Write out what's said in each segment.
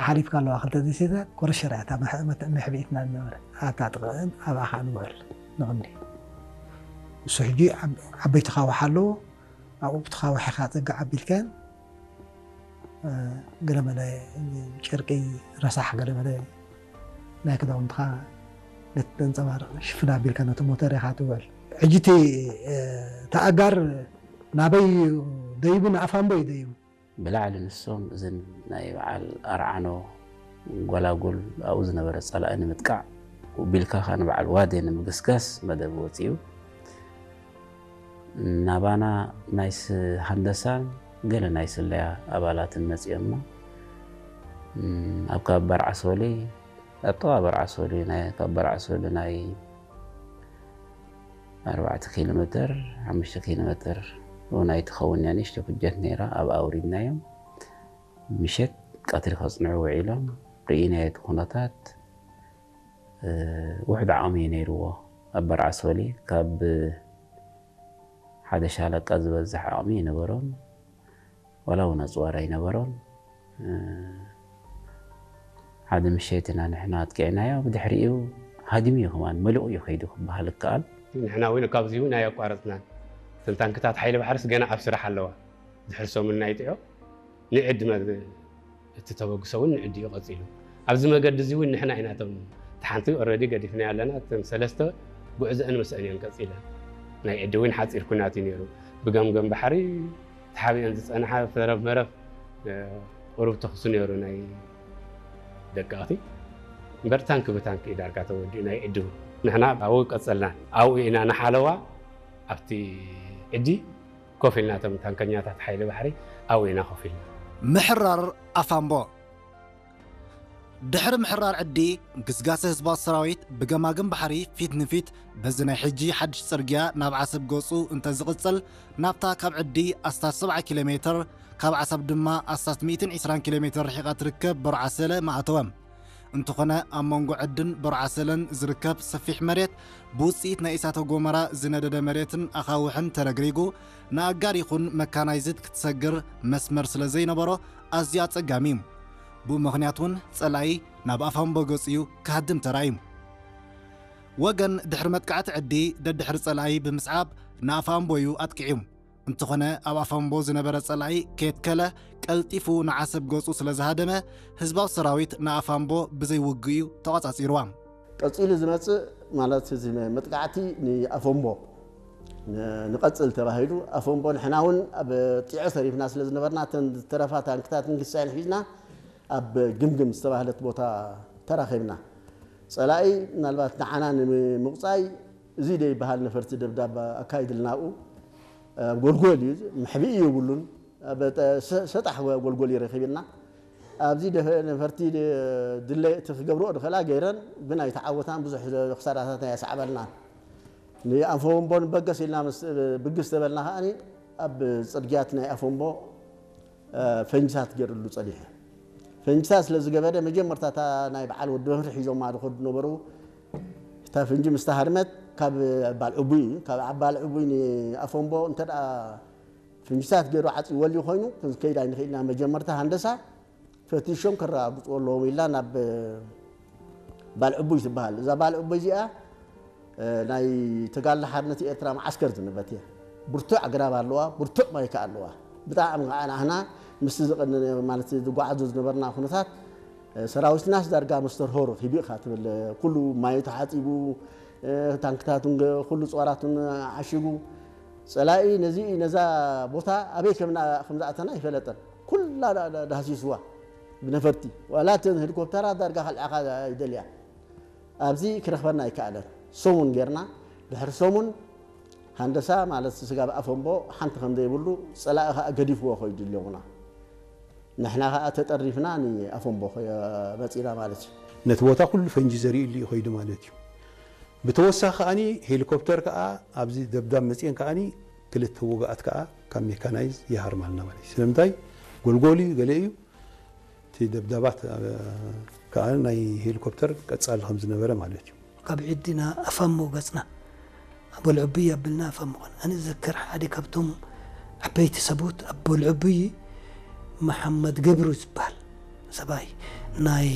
ሓሊፍካ ኣለዋ ክልተ ደሴታት ኮረሸራ እያ እታ መሕ- መት- መሕብኢትና ዝነበረ ኣብታ ጥቕዕን ኣብኣ ከዓ ንውዕል ንቕኒ። እሱ ሕጂ ዓብ- ዓበይቲ ካዋሕ ኣለዎ። ኣብኡ ብቲ ካዋሕ ኢኻ ፀግዕ ኣቢልካን ገለመለ ጨርቂ ረሳሕ ገለመለ ናይ ክዳውንትኻ ነቲ ተንፀባርቕ ሽፍን ኣቢልካ ነቲ ሞተር ኢኻ ትውዕል። ሕጂ እቲ ተኣጋር ናበይ ደይቡ ንኣፋምቦ እዩ ደይቡ። ብላዕሊ ንሶም እዝን ናይ በዓል ኣርዓኖ ጎላጉል ኣብኡ ዝነበረ ጸላኢ ንምጥቃዕ ውቢልካ ከኣ ንበዓል ዋዴ ንምግስጋስ መደብ ወጺኡ። ናባና ናይ ስ- ሃንደሳን ገለ ናይ ስለያ ኣባላትን መጺኦምና። እም፣ ኣብ ካብ በርዓሶሊ ኣብ ጥቓ በርዓሶሊ ናይ ካብ በርዓሶሊ ናይ ኣርባዕተ ኪሎ ሜትር ሓሙሽተ ኪሎ ሜትር ናይ ትኸውን እያ ንእሽቶ ኩጀት ነይራ። ኣብ ኣውሪድናዮም ምሸት ቀትሪ ከጽንዑ ውዒሎም ርኢናዮ እቲ ኩነታት። ውሕድ ዓቕሚ እዩ ነይርዎ። ኣብ በርዓሶሊ ካብ ሓደ ሻለቃ ዝበዝሕ ዓቕሚ ይነበሮም። ዋላ እውን ኣፅዋር ኣይነበሮን። ሓደ ምሸት ኢና ንሕና ኣጥቂዕናዮ። ብድሕሪኡ ሃዲሙ እዩ ከማን መሊቑ እዩ ከይዱ ክበሃል ይከኣል። ንሕና እውን ካብዚ እውን ኣየቋረፅናን። እተን ታንክታት ሓይሊ ባሕርስ ገና ኣብ ስራሕ ኣለዋ። ድሕሪ ሰሙን ናይ ጥዑ ንዕዲ እቲ ተበግሶ እውን ንዕዲ እዩ ቀፂሉ። ኣብዚ መገዲ እዚ እውን ንሕና ኢና እቶም እቲ ሓንቲ ኦረዲ ገዲፍና ኣለና። እተን ሰለስተ ጉዕዘአን ምስአን እየን ቀፂለን። ናይ ዕዲ እውን ሓፂር ኩናት እዩ ነይሩ። ብገምገም ባሕሪ ተሓቢአን ዝፀንሓ ተረፍ መረፍ ቁሩብ ተኽሲ ነይሩ ናይ ደቀቕቲ እምበር ታንኪ ብታንኪ እዩ ዳርጋ ተወዲኡ ናይ ዕዲ እውን። ንሕና ኣብኡ ቀፀልና። ኣብኡ ኢና ንሓለዋ ኣብቲ ዕዲ ኮፍ ኢልና እቶም ታንከኛታት ሓይሊ ባሕሪ ኣብኡ ኢና ኮፍ ኢልና። ምሕራር ኣፋምቦ። ድሕሪ ምሕራር ዕዲ፣ ግስጋሰ ህዝባዊ ሰራዊት ብገማግም ባሕሪ ፊት ንፊት በዚ ናይ ሕጂ ሓድሽ ጽርግያ ናብ ዓሰብ ገጹ እንተ ዝቕጽል፣ ናብታ ካብ ዕዲ ኣስታት ሰብዓ ኪሎ ሜትር፣ ካብ ዓሰብ ድማ ኣስታት ሚእትን ዕስራን ኪሎ ሜትር ርሒቓ ትርከብ በርዓሰለ ምኣተወ። እንተኾነ፣ ኣብ መንጎ ዕድን በርዓሰለን ዝርከብ ሰፊሕ መሬት ብውጽኢት ናይ እሳተ ጎመራ ዝነደደ መሬትን ኣኻውሕን ተረግሪጉ፣ ንኣጋር ይኹን መካናይዝድ ክትሰግር መስመር ስለ ዘይነበሮ ኣዝዩ ኣጸጋሚ እዩ። ብኡ ምኽንያት እውን ጸላኢ ናብ ኣፋምቦ ገጹ እዩ ክሃድም ተራእዩ። ወገን ድሕሪ መጥቃዕቲ ዕዲ ደድሕሪ ጸላኢ ብምስዓብ ንኣፋምቦ እዩ ኣጥቂዑ። እንተኾነ ኣብ ኣፋምቦ ዝነበረ ጸላኢ ከየትከለ ቀልጢፉ ንዓሰብ ገጹ ስለ ዝሃደመ ህዝባዊ ሰራዊት ንኣፋምቦ ብዘይ ውግእ እዩ ተቖጻጺርዋ። ቀጺሉ ዝመጽእ ማለት እዚ መጥቃዕቲ ንኣፈምቦ ንቐጽል ተባሂሉ ኣፈምቦ ንሕና እውን ኣብ ጢዖ ተሪፍና ስለ ዝነበርና እተን ዝተረፋ ታንክታትን ግሳይን ሒዝና ኣብ ግምግም ዝተባህለት ቦታ ተራኺብና። ጸላኢ ምናልባት ንዓና ንምቕጻይ እዚ ደይበሃል ነፈርቲ ደብዳብ ኣካይድልና ኣብኡ ኣብ ጎልጎል እዩ መሕብኢ የብሉን። ሰጣሕ ጎልጎል እዩ ረኺብና። ኣብዚ ነፈርቲ ድለ እቲ ክገብርኦ ድኽእላ ገይረን ብናይ ተዓወታን ብዙሕ ክሳራታት ናይ ኣስዓበልና ንኣንፈወንቦን በገስ ኢልና ብግስ ተበልና ከኣ ኣብ ፅርግያት ናይ ኣፈንቦ ፈንጅታት ገይርሉ ፀኒሑ። ፈንጅታት ስለ ዝገበረ መጀመርታ እታ ናይ በዓል ወዲ መፍሪ ሒዞማ ዝኸዱ ነበሩ። እታ ፈንጂ ምስ ተሃርመት ካብ ባል ዕቡይ ካብ ዓባል ዕቡይ ንኣፈንቦ እንተ ፍንጅታት ገይሩ ዓፂወሉ ኮይኑ ክንከይድ ኣይንኽእልና መጀመርታ ሃንደሳ ፈቲሾም ከረጋግፅዎ ኣለዎም ኢልና ናብ ባልዕቡይ ትበሃል እዛ ባልዕቡይ እዚኣ ናይ ተጋድሎ ሓርነት ኤርትራ መዓስከር ዝንበት እያ ብርቱዕ ኣግራብ ኣለዋ ብርቱዕ ማይካ ኣለዋ ብጣዕሚ ከዓ ናህና ምስቲ ዝቐነነ ማለት ዝጓዓዞ ዝነበርና ኩነታት ሰራዊትናስ ዳርጋ መስተርሆ ረኺቡ ኢኻ ትብል ኩሉ ማዩ ተሓፂቡ ታንክታቱን ኩሉ ፀዋራቱን ዓሺጉ ፀላኢ ነዚ ነዛ ቦታ ኣበይ ከም ዝኣተና ኣይፈለጠን ኩላ ዳህሲስዋ ብነፈርቲ ዋላ እተን ሄሊኮፕተራት ዳርጋ ከልዕኻ ይደልያ ኣብዚ ክረኽበና ኣይከኣለን ሰሙን ጌርና ድሕሪ ሰሙን ሃንደሳ ማለት ስጋብ ኣፈንቦ ሓንቲ ከም ዘይብሉ ፀላኢ ከዓ ገዲፍዎ ኮይዱ ኣለኹና ንሕና ከዓ ተጠሪፍና ንኣፈንቦ መፂና ማለት እዩ። ነቲ ቦታ ኩሉ ፈንጂ ዘሪእሉ እዩ ከይዱ ማለት እዩ። ብተወሳኺ ከዓኒ ሄሊኮፕተር ከዓ ኣብዚ ደብዳብ መፅኤን ከዓኒ ክልተ ውግኣት ከዓ ካብ ሜካናይዝ ይሃርማልና ማለት እዩ። ስለምንታይ ጎልጎል እዩ ገለ እዩ እቲ ደብዳባት ከዓ ናይ ሄሊኮፕተር ቀፃሊ ከም ዝነበረ ማለት እዩ። ካብ ዒድና ኣፋሞ ገፅና ኣቦልዕቡይ ኣቢልና ኣፋሞ ኾነ ኣነ ዝዘክር ሓደ ካብቶም ዓበይቲ ሰብኡት ኣቦልዕቡይ መሓመድ ገብሩ ዝበሃል ሰብኣይ ናይ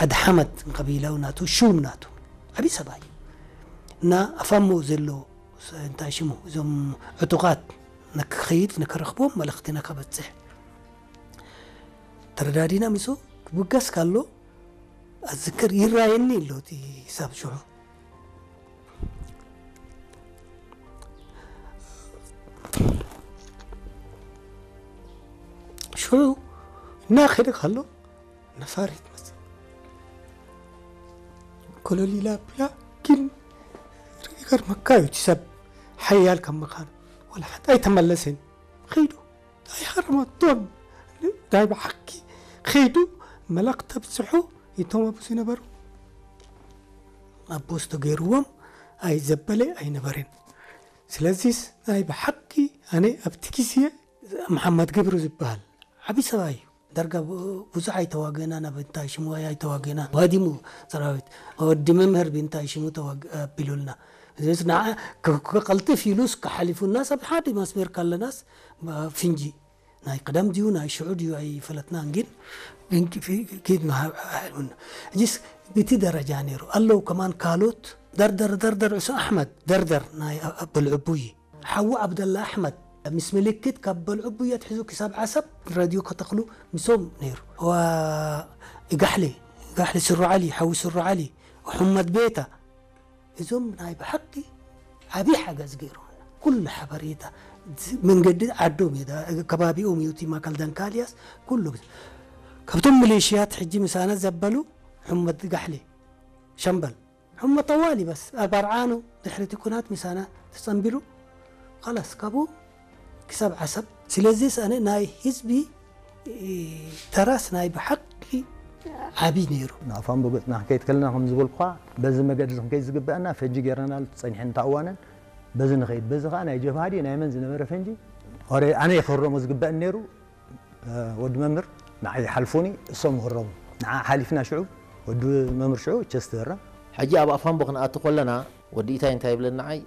ዓዲ ሓመድ ቀቢላ ናቱ ሹም ናቱ ዓብዪ ሰብኣይ እና ኣፋሞ ዘሎ ስ-፣ እንታይ ሽሙ እዞም ዕጡቓት ንክኸይድ ንክረኽቦም መልእኽቲ ንከበፅሕ ተረዳዲና ምሶ ክብገስ ካሎ ኣዝክር ይራየኒ ኣሎ እቲ ሰብ ሽዑ ሽዑ እናኸደ ካሎ ነፋሪት መጽእ ኮለል ኢላ ኣቢላ ግን ይገርመካ እዩ እቲ ሰብ ሓያል ከም ምዃኑ ወላ ሓንቲ ኣይተመለሰን ኸይዱ ኣይሃረመቶን ናይ ብሓቂ ኸይዱ መላኽ ተብፅሑ እቶም ኣብኡ ዝነበሩ ኣቦስ ተገይርዎም ኣይዘበለ ኣይነበረን ስለዚስ ናይ ብሓቂ ኣነ ኣብቲ ግዜ መሓመድ ገብሩ ዝበሃል ዓብዪ ሰብኣይ እዩ ዳርጋ ቡ- ብዙሕ ኣይተዋገና ናብ እንታይ ሽሙ ኣይተዋገና ባዲሙ ሰራዊት ወዲ መምህር ብእንታይ ሽሙ ተዋግ ኣቢሉልና ስለዚ ንዓ ክ- ክቐልጥፍ ኢሉስ ክሓሊፉና ሰብ ሓደ መስመር ካለናስ ፍንጂ ናይ ቅደም ድዩ ናይ ሽዑ ድዩ ኣይፈለጥናን ግን ግን ፊ- ኪድ መሃብ- ሃልሙና እዚስ ብቲ ደረጃ ነይሩ ኣለዉ ከማን ካልኦት ደርደር ደርደር ዕሱ ኣሕመድ ደርደር ናይ ኣ- በልዕቡይ ሓዉ ዓብደላ ኣሕመድ ምስ ምልክት ካብ በልዕቡይ ኣትሒዙ ክሳብ ዓሰብ ረድዮ ከተኽሉ ምሶም ነይሩ ዋ ጋሕሊ ጋሕሊ ስሩ ዓሊ ሓዊ ስሩ ዓሊ ሕመድ ቤታ እዞም ናይ ብሓቂ ዓብዪ ሓገዝ ገይሮምና ኩሉ ሓበሬታ መንገዲ ዓዶም እዩ ከባቢኦም እዩ እቲ ማካል ዳንካልያስ ኩሉ ካብቶም ሚሊሽያት ሕጂ ምሳና ዘበሉ ሕመድ ጋሕሊ ሸምበል ሕመድ ጠዋሊ በስ ኣርባርዓኑ ድሕሪ እቲ ኩናት ምሳና ተጸንቢሉ ኸላስ ካብኡ ክሳብ ዓሰብ ስለዚስ ኣነ ናይ ህዝቢ ተራስ ናይ ብሓቂ ዓብዪ ነይሩ። ንኣፋምቦ ገጽና ክንከይድ ከለና ከም ዝበልኩኻ በዚ መገዲ እዚ ክንከይድ ዝግበአና ፈንጂ ጌርናሉ ጸኒሐን እታ እዋነን በዚ ንኸይድ በዚ ኸዓ ናይ ጀብሃ ድዩ ናይ መን ዝነበረ ፈንጂ ኦረ ኣነ እየ ክህረሞ ዝግበአኒ ነይሩ ወዲ መምህር ንዓይ ሓልፉኒ እሶም ክህረሙ ንዓ ሓሊፍና ሽዑ ወዲ መምህር ሽዑ ቸስት ህረም። ሕጂ ኣብ ኣፋምቦ ክንኣቱ ከለና ወዲ ኢታይ እንታይ ይብለኒ ንዓይ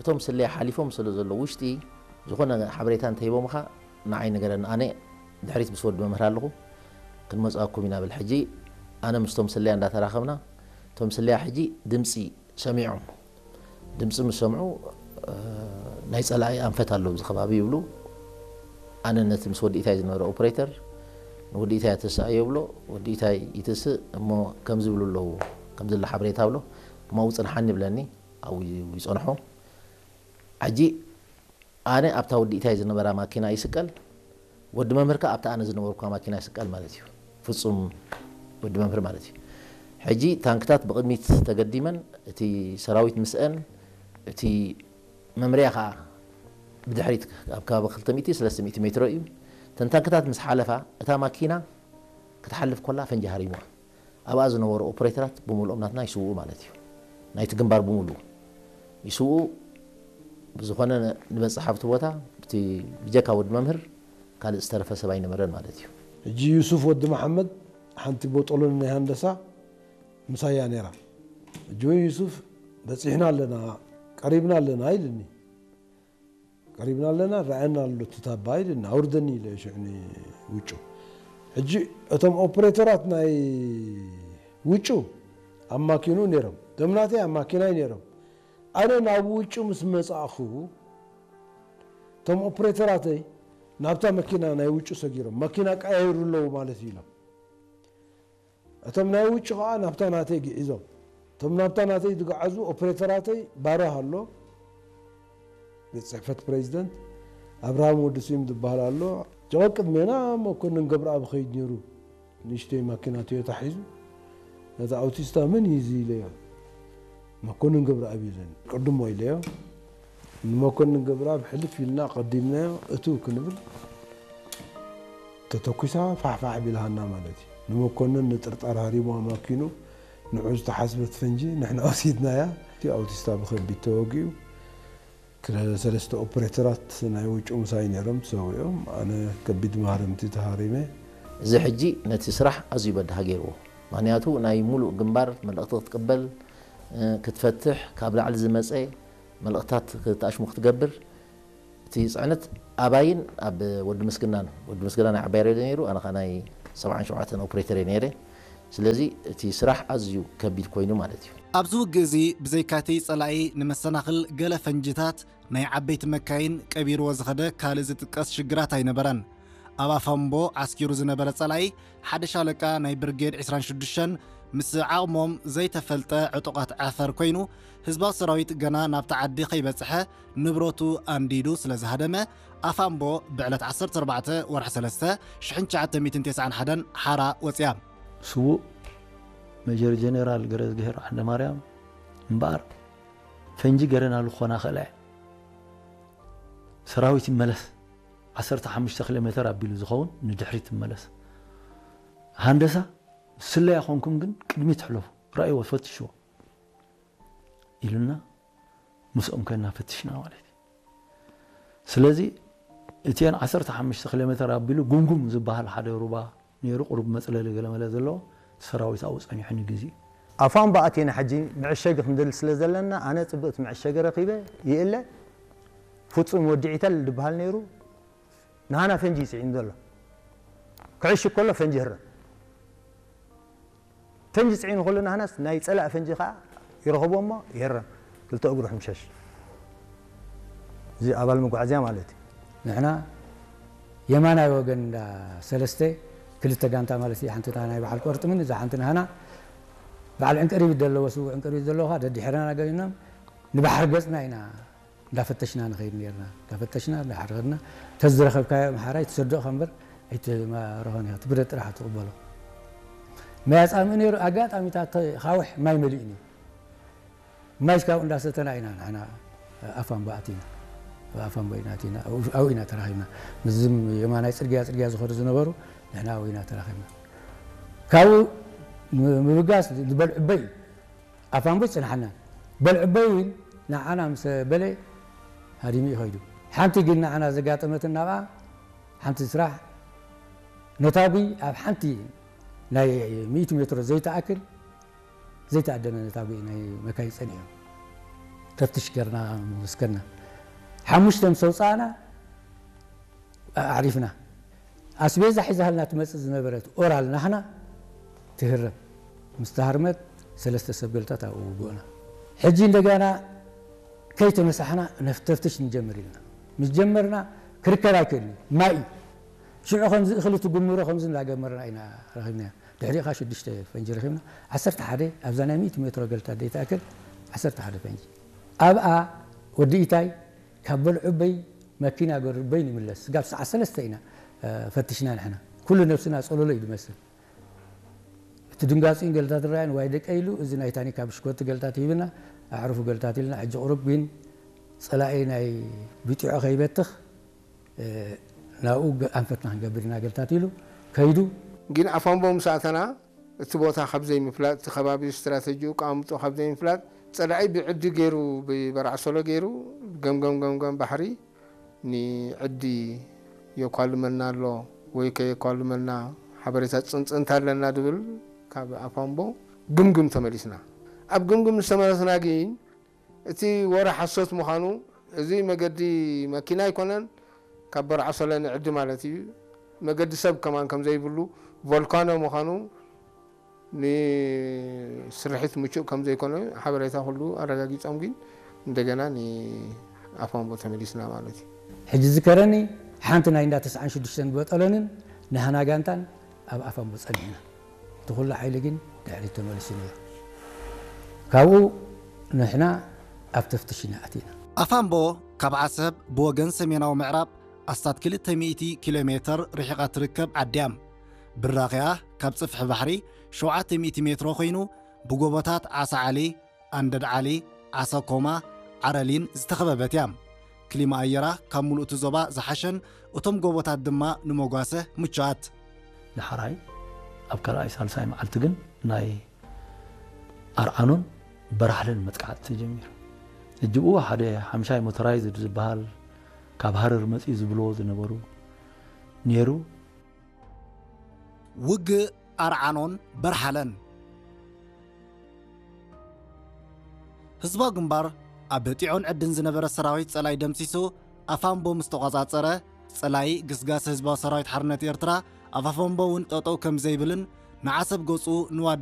እቶም ስለያ ሓሊፎም ስለ ዘለዉ ውሽጢ ዝኾነ ሓበሬታ እንተሂቦምኻ ንዓይ ንገረኒ ኣነ ድሕሪት ምስ ወዲ መምህር ኣለኹ ክንመፅኣኩም ኢና ብል ሕጂ ኣነ ምስቶም ስለያ እንዳተራኸብና እቶም ስለያ ሕጂ ድምፂ ሰሚዖም ድምፂ ምስ ሰምዑ ናይ ፀላኢ ኣንፈት ኣሎ ኣብዚ ከባቢ ይብሉ ኣነ ነቲ ምስ ወዲ ኢታይ ዝነበረ ኦፕሬተር ንወዲ ኢታይ ኣተስኣዮ ይብሎ ወዲ ኢታይ ይትስእ እሞ ከምዚ ይብሉ ኣለዉ ከምዚ ኣሎ ሓበሬታ ብሎ እሞ ውፅንሓኒ ይብለኒ ኣብኡ ይፀንሖ። ሕጂ ኣነ ኣብታ ወዲ ኢታይ ዝነበራ ማኪና ይስቀል፣ ወዲ መምህር ከኣ ኣብታ ኣነ ዝነበርኩዋ ማኪና ይስቀል ማለት እዩ። ፍጹም ወዲ መምህር ማለት እዩ። ሕጂ ታንክታት ብቕድሚት ተገዲመን፣ እቲ ሰራዊት ምስአን፣ እቲ መምርያ ከኣ ብድሕሪት ኣብ ከባቢ ክልተ ሚእቲ፣ ሰለስተ ሚእቲ ሜትሮ እዩ። እተን ታንክታት ምስ ሓለፋ፣ እታ ማኪና ክትሓልፍ ኮላ ፈንጂ ሃሪሙዋ። ኣብኣ ዝነበሩ ኦፕሬተራት ብምልኦም ናትና ይስውኡ ማለት እዩ። ናይቲ ግንባር ብምልኡ ይስውኡ። ብዝኾነ ንበፅሕ ኣብቲ ቦታ ብቲ ብጀካ ወዲ መምህር ካልእ ዝተረፈ ሰብ ኣይነበረን ማለት እዩ። ሕጂ ዩሱፍ ወዲ መሓመድ ሓንቲ ቦጦሎኒ ናይ ሃንደሳ ምሳይ እያ ነይራ። ሕጂ እውን ዩሱፍ በፂሕና ኣለና ቀሪብና ኣለና ኢልኒ። ቀሪብና ኣለና ረኣየና ኣሎ እቲ ታባ ኢልኒ ኣውርደኒ ኢለ ሽዑ ንውጩ ሕጂ እቶም ኦፕሬተራት ናይ ውጩ ኣብ ማኪንኡ ነይሮም እቶም ናተይ ኣብ ማኪናይ ነይሮም ኣነ ናብ ውጩ ምስ መፃእኹ እቶም ኦፕሬተራተይ ናብታ መኪና ናይ ውጩ ሰጊሮም መኪና ቀያይሩ ኣለዉ ማለት እዩ ኢሎም እቶም ናይ ውጭ ኸዓ ናብታ ናተይ ግዒዞም። እቶም ናብታ ናተይ ዝገዓዙ ኦፕሬተራተይ ባራህ ኣሎ፣ ቤት ጽሕፈት ፕሬዚደንት፣ ኣብርሃም ወዲ ስዩም ዝበሃል ኣሎ። ጀቐ ቅድሜና መኮንን ገብረኣብ ይኸይድ ነይሩ፣ ንእሽተይ ማኪና ቶዮታ ሒዙ። ነታ ኣውቲስታ መን እዩ እዚ ኢለዮ። መኮንን ገብረኣብ እዩ ዘን ቅድሞ ኢለዮ። ንመኮንን ገብረኣብ ሕልፍ ኢልና ቀዲምናዮ እትው ክንብል ተተኲሳ ፋሕፋሕ ቢልሃና ማለት እዩ። ንመኮንን ንጥርጣር ሃሪሙ ኣማኪኑ ንዑ ዝተሓስበት ፈንጂ ንሕና ወሲድናያ። እቲ ኣውቲስታ ብኸቢድ ተወጊኡ። ክለ- ሰለስተ ኦፕሬተራት ናይ ውጩ ምሳይ ነይሮም ተሰዊኦም። ኣነ ከቢድ ማህረምቲ ተሃሪመ። እዚ ሕጂ ነቲ ስራሕ ኣዝዩ በዳሂ ገይርዎ። ምኽንያቱ ናይ ሙሉእ ግንባር መልእኽቲ ክትቅበል፣ እ፣ ክትፈትሕ፣ ካብ ላዕሊ ዝመጸ መልእኽትታት ክትኣሽሙ ክትገብር፣ እቲ ጽዕነት ኣባይን ኣብ ወዲ ምስግናን፣ ወዲ ምስግና ናይ ዓባይ ሬድዮ ነይሩ፣ ኣነ ኸኣ ናይ ሰብዓን ሸውዓተን ኦፕሬተር እየ ነይረ። ስለዚ እቲ ስራሕ ኣዝዩ ከቢድ ኮይኑ ማለት እዩ። ኣብዚ ውግእ እዚ ብዘይካቲ ጸላኢ ንመሰናኽል ገለ ፈንጅታት ናይ ዓበይቲ መካይን ቀቢርዎ ዝኸደ ካልእ ዝጥቀስ ሽግራት ኣይነበረን። ኣብ ኣፋምቦ ዓስኪሩ ዝነበረ ጸላኢ ሓደ ሻለቃ ናይ ብርጌድ ዕስራን ሽዱሽተን ምስ ዓቕሞም ዘይተፈልጠ ዕጡቓት ዓፈር ኮይኑ ህዝባዊ ሰራዊት ገና ናብቲ ዓዲ ከይበጽሐ ንብረቱ ኣንዲዱ ስለ ዝሃደመ ኣፋምቦ ብዕለት ዓሰርተ ኣርባዕተ ወርሒ ሰለስተ ሽሕን ትሽዓተ ሚእትን ተስዓን ሓደን ሓራ ወጽያ። ስዉእ ሜጀር ጀነራል ገረዝግሄር ዓንደማርያም እምበኣር ፈንጂ ገረናሉ ክኾና ክእላ እያ። ሰራዊት ይመለስ ዓሰርተ ሓሙሽተ ኪሎ ሜተር ኣቢሉ ዝኸውን ንድሕሪት ይመለስ። ሃንደሳ ስለያ ኮንኩም ግን ቅድሚት ሕለፉ፣ ረኣይዎ፣ ፈትሽዎ ኢሉና ምስኦም ኮይና ፈትሽና ማለት እዩ። ስለዚ እቲአን ዓሰርተ ሓሙሽተ ኪሎ ሜተር ኣቢሉ ጉምጉም ዝበሃል ሓደ ሩባ ነይሩ፣ ቁሩብ መፅለሊ ገለመለ ዘለዎ ሰራዊት ኣብኡ ፀኒሑ ንግዜ ኣፋምቦ ኣቲና ሕጂ መዐሸጊ ክንደሊ ስለ ዘለና ኣነ ፅብቕቲ መዐሸጊ ረኺበ ይእለ ፍፁም ወዲ ዒተል ዝበሃል ነይሩ ንሃና ፈንጂ ይፅዒኑ ዘሎ ክዕሽግ ከሎ ፈንጂ ህረም ፈንጂ ፅዒኑ ከሎ ናህናስ ናይ ፀላእ ፈንጂ ከዓ ይረኸቦ እሞ ይህረም ክልተ እግሩ ሕምሸሽ እዚ ኣባል መጓዓዝያ ማለት እዩ። ንሕና የማናይ ወገን እንዳ ሰለስተ ክልተ ጋንታ ማለት እዩ። ሓንቲ ናይ በዓል ቆርጥምን እዛ ሓንቲ ናህና በዓል ዕንቅሪቢት ዘለዎ ስውእ ዕንቅሪቢት ዘለዎ ከዓ ደድሕረና ገይኖም ንባሕሪ ገፅና ኢና እንዳፈተሽና ንኸይድ ነርና። እንዳፈተሽና እንዳሓረድና ተዝረኸብካዮ ኣምሓራይ ትሰድቕካ እምበር ኣይትማርኾን ኢኻ። እቲ ብረት ጥራሕ ትቕበሎ። ማይ ኣጻምእ ነይሩ። ኣጋጣሚታት ካውሕ ማይ መሊኡ ነይሩ። ማይ ካብኡ እንዳሰተና ኢና ንሕና ኣፋምቦ ኣቲና። ኣፋምቦ ኢና ኣቲና። ኣብኡ ኢና ተራኺብና። ምስዝም የማናይ ጽርግያ ጽርግያ ዝኸዱ ዝነበሩ ንሕና ኣብኡ ኢና ተራኺብና። ካብኡ ምብጋስ ዝበልዑበይ እዩ። ኣፋምቦ ይጽንሓና በልዕበይ እውን ንዓና ምስ በለ ሃዲሙ እዩ ከይዱ። ሓንቲ ግን ንዓና ዘጋጠመትና ብኣ ሓንቲ ስራሕ ነታጒ ኣብ ሓንቲ ናይ ሚእቲ ሜትሮ ዘይትኣክል ዘይተኣደነ ነታጒ ናይ መካይን ጸኒሑ ተፍትሽ ገርና ምስ ከድና ሓሙሽተ ምስ ኣውጻእና ኣዕሪፍና ኣስቤዛ ሒዛልና ትመጽእ ዝነበረት ኦራል ናህና ትህረም ምስ ተሃርመት ሰለስተ ሰብ ገልታት ኣብኡ ውግእና ሕጂ እንደገና ከይተመሳሕና ነፍተፍትሽ ንጀምር ኢልና ምስ ጀመርና ክርከብ ኣይክእልን ማይ እዩ ሽዑ ከምዚ እኽሊ ትጉምሮ ከምዚ እንዳገመርና ኢና ረኺብናዮ ድሕሪኡ ከዓ ሽዱሽተ ፈንጂ ረኺብና ዓሰርተ ሓደ ኣብዛ ናይ ሚእቲ ሜትሮ ገልታት ዘይትኣክል ዓሰርተ ሓደ ፈንጂ ኣብኣ ወዲ ኢታይ ካብ በልዑበይ መኪና ገርበይ ንምለስ ስጋብ ሰዓት ሰለስተ ኢና ፈትሽና ንሕና ኩሉ ነብስና ጸሎሎ እዩ ዝመስል እቲ ድንጋጺን ገልታት ራያን ዋይ ደቀ ኢሉ እዚ ናይ ታኒካ ብሽኮቲ ገልታት ሂብና ኣዕርፉ ገልታት ኢልና ሕጂ ቁሩብ ግን ጸላኢ ናይ ብጢዖ ከይበትኽ ናብኡ ኣንፈትና ክንገብር ኢና ገልታት ኢሉ ከይዱ ግን ኣፋምቦ ምስ ኣተና እቲ ቦታ ካብ ዘይምፍላጥ እቲ ከባቢ ስትራተጂኡ ኣቀማምጥኡ ካብ ዘይምፍላጥ ጸላኢ ብዕዲ ገይሩ ብበርዓሶሎ ገይሩ ገምገም ገምገም ባሕሪ ንዕዲ የኳልመና ኣሎ ወይ ከየኳልመና ሓበሬታ ጽንጽንታ ኣለና ድብል ካብ ኣፋምቦ ግምግም ተመሊስና ኣብ ግምግም ዝተመለስና ግን እቲ ወረ ሓሶት ምዃኑ እዚ መገዲ መኪና ኣይኮነን ካብ በርዓሶለ ንዕዲ ማለት እዩ መገዲ ሰብ ከማን ከም ዘይብሉ ቮልካኖ ምዃኑ ንስርሒት ምቹእ ከም ዘይኮነ ሓበሬታ ኩሉ ኣረጋጊጾም ግን እንደገና ንኣፋምቦ ተመሊስና ማለት እዩ። ሕጂ ዝከረኒ ሓንቲ ናይ እንዳ ተስዓን ሽዱሽተን በጠሎንን ናህና ጋንታን ኣብ ኣፋምቦ ጸኒሕና። እቲ ኩሉ ሓይሊ ግን ድሕሪት ተመሊሱ ነይሩ። ካብኡ ንሕና ኣብ ተፍትሽ ኢና ኣቲና። ኣፋምቦ ካብ ዓሰብ ብወገን ሰሜናዊ ምዕራብ ኣስታት ክልተ ሚእቲ ኪሎ ሜተር ርሒቓ ትርከብ ዓዲ እያ። ብራኺኣ ካብ ጽፍሒ ባሕሪ ሸውዓተ ሚእቲ ሜትሮ ኮይኑ ብጎቦታት ዓሳ ዓሊ፣ ኣንደድ ዓሊ፣ ዓሳ ኮማ፣ ዓረሊን ዝተኸበበት እያ። ክሊማ ኣየራ ካብ ሙሉእ እቲ ዞባ ዝሓሸን እቶም ጎቦታት ድማ ንመጓሰ ምቹኣት። ዳሕራይ ኣብ ካልኣይ ሳልሳይ መዓልቲ ግን ናይ ኣርዓኖን በራሕለን መጥቃዕቲ ተጀሚሩ። እጅብኡ ሓደ ሓምሻይ ሞተራይዝድ ዝበሃል ካብ ሃረር መፅኡ ዝብልዎ ዝነበሩ ነይሩ። ውግእ ኣርዓኖን በርሓለን። ህዝባዊ ግንባር ኣብ ጢዖን ዕድን ዝነበረ ሰራዊት ጸላኢ ደምሲሱ ኣፋምቦ ምስ ተቖጻጸረ፣ ጸላኢ ግስጋሰ ህዝባዊ ሰራዊት ሓርነት ኤርትራ ኣፋፈምቦ እውን ጠጠው ከም ዘይብልን ንዓሰብ ገጹ ንዋዴ